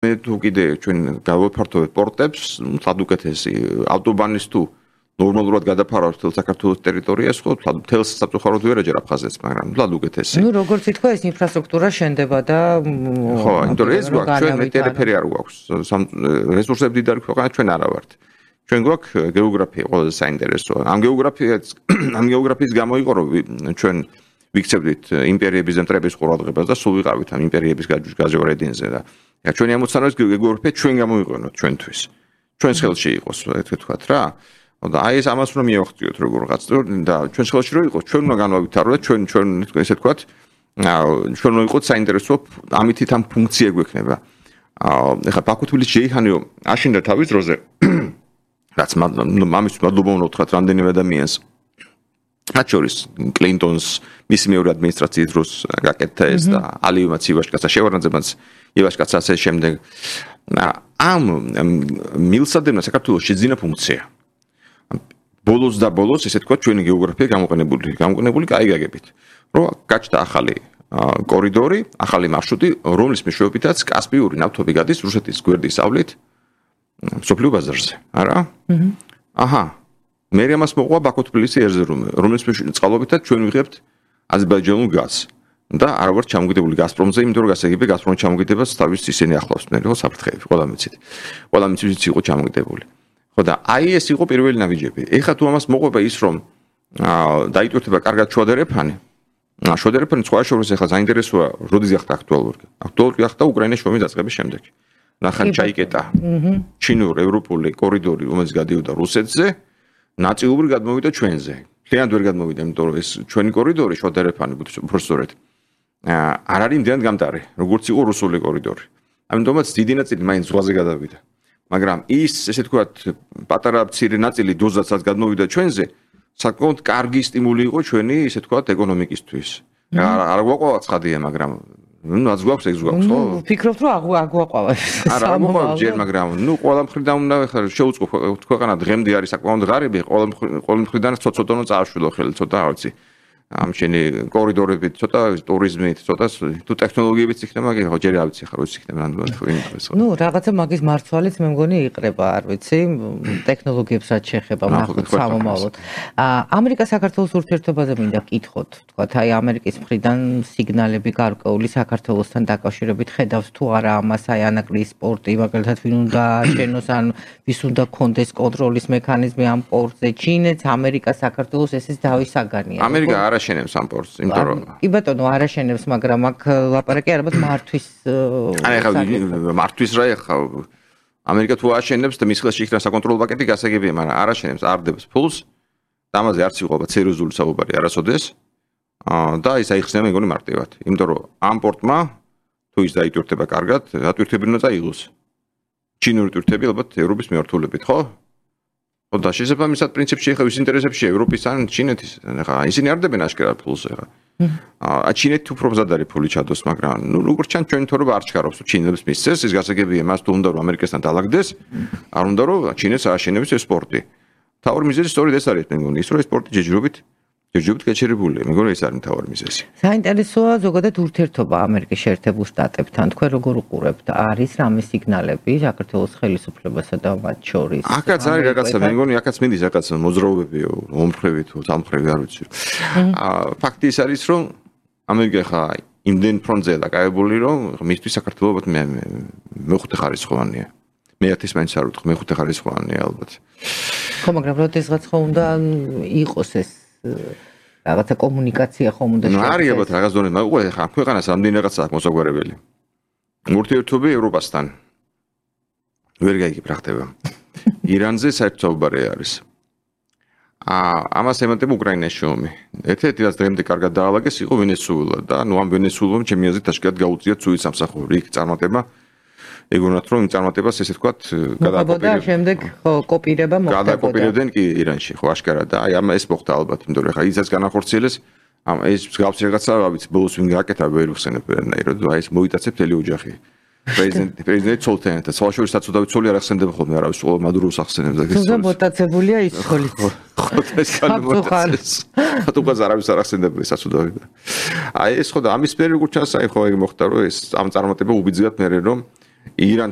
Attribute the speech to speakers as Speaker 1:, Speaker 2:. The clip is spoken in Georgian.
Speaker 1: მე თუ კიდე ჩვენ გავაფართოვებთ პორტებს, თად უკეთესი ავტობანის თუ ნორმალურად გადაფარავთ თელ საქართველოს ტერიტორიას, ხო, თელ საფრთხოდ ვერ ეჯერ აფხაზეთს, მაგრამ თად უკეთესი.
Speaker 2: ნუ როგორც ითქვა, ეს ინფრასტრუქტურა შენდება და
Speaker 1: ხო, იმიტომ რომ ეს გვაქვს, ჩვენ მეტერიფერია არ გვაქვს. რესურსები დიდარი ქვეყანა ჩვენ არა ვართ. ჩვენ გვაქვს გეოგრაფია ყველაზე საინტერესოა. ამ გეოგრაფიის გამო იყო რომ ჩვენ ვიქცევდით იმპერიების და მტრების ყურადღებას და სულ ვიყავით ამ იმპერიების გაჟღერებაზე და ჩვენი ამოცანა გეოგრაფია ჩვენ გამოიყენოთ ჩვენთვის. ჩვენს ხელში იყოს, ესე ვთქვათ რა. და აი ეს ამას რომ მივახციოთ როგორღაც და ჩვენს ხელში რო იყოს, ჩვენ უნდა განვავითაროთ და ჩვენ ესე ვთქვათ, ჩვენ უნდა იყოს საინტერესო ამითით ამ ფუნქცია გვექნება. ეხლა ბაქო-თბილისი შეიჰანიო აშენდა თავის დროზე რაც მამის მადლობა უნდა ვთქვათ რამდენიმე ადამიანს მათ შორის კლინტონს მისი მეორე ადმინისტრაციის დროს გაკეთდა ეს და ალიევმაც ივაშკაცა შევარდნაძემაც ივაშკაცა ასე შემდეგ ამ მილსადენა საქართველოს შეძინა ფუნქცია ბოლოს და ბოლოს ესე თქვა ჩვენი გეოგრაფია გამოყენებული კაი გაგებით რომ გაჩნდა ახალი კორიდორი ახალი მარშრუტი რომლის მეშვეობითაც კასპიური ნავთობი გადის რუსეთის გვერდის ავლით სოფლიო ბაზარზე არა აჰა მე ამას მოყვა ბაქო-თბილისი ერზერუმი რომლის წყალობითაც ჩვენ ვიღებთ აზერბაიჯანულ გაზს და არ ვარ ჩამოგიდებული გაზპრომზე იმიტომ რომ გასაგები გაზპრომი ჩამოგიდებას თავის ისინი ახლავს მე ხო საფრთხეები ყველა მიცით იყო ჩამოგიდებული ხო და აი ეს იყო პირველი ნაბიჯები ეხლა თუ ამას მოყვება ის რომ დაიტვირთება კარგად შუადერეფანი შუადერეფანი სხვა შორის ეხლა საინტერესოა როდის გახდა აქტუალური გახდა უკრაინის შრომის დაწყების შემდეგ ნახან ჩაიკეტა ჩინურ ევროპული კორიდორი რომელიც გადიოდა რუსეთზე ნაწილობრივ გადმოვიდა ჩვენზე მთლიანად ვერ გადმოვიდა იმიტომ რომ ეს ჩვენი კორიდორი შუადერეფანი უბრალოდ არ არის იმდენად გამტარი როგორც იყო რუსული კორიდორი ამიტომაც დიდი ნაწილი მაინც ზღვაზე გადავიდა მაგრამ ის ესე ვთქვათ პატარა მცირე ნაწილი დოზაცაც გადმოვიდა ჩვენზე საკმაოდ კარგი სტიმული იყო ჩვენი ესე ვთქვათ ეკონომიკისთვის არ გვაყვა ცხადია მაგრამ რაც გვაქვს ეს გვაქვს ხო?
Speaker 2: ვფიქრობ რომ აგვაყვა.
Speaker 1: არა, მოყვა ჯერ, მაგრამ ნუ ყველა მხრიდან უნდა ხარ შეუწყო ქვეყანა დღემდე არის საკმაოდ ღარიბი, ყველა მხრიდან ცოტა წააშვილო ხელი, ცოტა რა ვიცი. ამ შენი კორიდორებით, ცოტა ტურიზმით, ცოტა თუ ტექნოლოგიებით იქნება, ხო ჯერ არ ვიცი ხარ, როდის იქნება რანდომად.
Speaker 2: ნუ რაღაცა მაგის მარცვალიც მე მგონი იყრება, არ ვიცი, ტექნოლოგიებს რაც შეეხება ნახოთ სამომავლოდ. ამერიკა საქართველოს ურთიერთობაზე მინდა გკითხოთ, თქვათ, აი ამერიკის მხრიდან სიგნალები გარკვეული საქართველოსთან დაკავშირებით ხედავს თუ არა ამას აი ანაკლის სპორტი, მაგალითად ვინ უნდა შენოს ან ვის უნდა კონდეს კონტროლის მექანიზმი ამ პორტზე, ჩინეთს, ამერიკა საქართველოს ესეც დავის საგანია.
Speaker 1: ამერიკა არ აშენებს ამ პორტს, იმიტომ რომ
Speaker 2: კი ბატონო, არ აშენებს, მაგრამ აქ ლაპარაკი არაბათ მართვის
Speaker 1: აი ახლა მართვის რა ახლა ამერიკა თუ აშენებს და მის ხელში იქნება საკონტროლო პაკეტი გასაგებია, მაგრამ არ აშენებს, არ დებს ფულს. და ამაზე არც იყვება სერიოზული საუბარი არასოდეს. და ის აიხსნება მეგონი მარტივად, იმიტომ რომ ამ პორტმა თუ ის დაიტვირთება კარგად, ატვირთები უნდა წაიღოს. ჩინური ტვირთები ალბათ ევროპის მიმართულებით, ხო? და შესაბამისად პრინციპში ხა ვის ინტერესებში ევროპის ან ჩინეთის ხა ისინი არ დებენ აშკარად ფულს ხა ჩინეთი უფრო მზად არის ფული ჩადოს მაგრამ ნუ როგორც ჩან ჩვენ თორება არ ჩქარობს ჩინელებს მისცეს ის გასაგებია მას თუ უნდა რომ ამერიკასთან დაალაგდეს არ უნდა რომ ჩინეთს ააშენებს ეს სპორტი თავი მიზეზი სწორედ ეს არის მე მგონი ის რომ ეს სპორტი ჯერჯერობით გაჩერებულია მე მგონი ეს არის თავი მიზეზი
Speaker 2: საინტერესოა ზოგადად ურთიერთობა ამერიკის შეერთებულ შტატებთან თქვენ როგორ უყურებთ არის რამე სიგნალები საქართველოს ხელისუფლებასა და მათ შორის
Speaker 1: აქაც არის რაღაცა მე მგონი აქაც მინდის რაღაცა მოძრაობები ომხრები თუ სამხრები არ ვიცი ფაქტი ის არის რომ ამერიკა ხა იმდენ ფრონტზე დაკავებული რომ მისთვის საქართველოს მეხუთე ხარისხოვანია მეათის მაინც არ ვთქვი მეხუთე ხარისხოვანია ალბათ
Speaker 2: ხო მაგრამ როდესღაც ხო უნდა იყოს ეს რაღაცა კომუნიკაცია ხომ უნდა
Speaker 1: შეეძლოს. არის ალბათ რაღაც დონე, მაგრამ ხა ქვეყანას რამდენი რაღაცა აქვს მოსაგვარებელი. ურთიერთობა ევროპასთან ვერ გაიგებ რა ხდება. ირანზე საერთო საუბარი არის. ამას ემატება უკრაინაში ომი. ერთ-ერთი რაც დღემდე კარგად დაალაგეს იყო ვენესუელა და ნუ ამ ვენესუელამ ჩემი აზრით აშკარად გაუწია ცუდი სამსახური იქ წარმატება. ეგონათ რომ იმ წარმატებას ესე ვთქვათ
Speaker 2: გადაკოპირებდა შემდეგ ხო კოპირება მოხდა
Speaker 1: გადაკოპირებდნენ კი ირანში ხო აშკარად და აი ამ ეს მოხდა ალბათ იმიტომ რომ ხა ისაც განახორციელეს ამ ეს მსგავსი რაღაცა რა ვიცი ბოლოს ვინ გააკეთა ვერ ვხსენებ ვერანაირად აი ეს მოიტაცებ თელი ოჯახი პრეზიდენტი ცოლთან საშუალო საწოდავი ცოლი არ ახსენდება ხოლმე არავის ყოველ მადუროს ახსენებს და
Speaker 2: ეს მოტაცებულია ის ცოლიც
Speaker 1: ხო ეს მოტაცეს ხათუყას არავის არ ახსენდება საწოდავი აი ეს ხო და ამის პერიოდი როგორც ჩანს აი ხო ეგ მოხდა რომ ეს ამ წარმატება უბიძგათ მე რომ ირანთან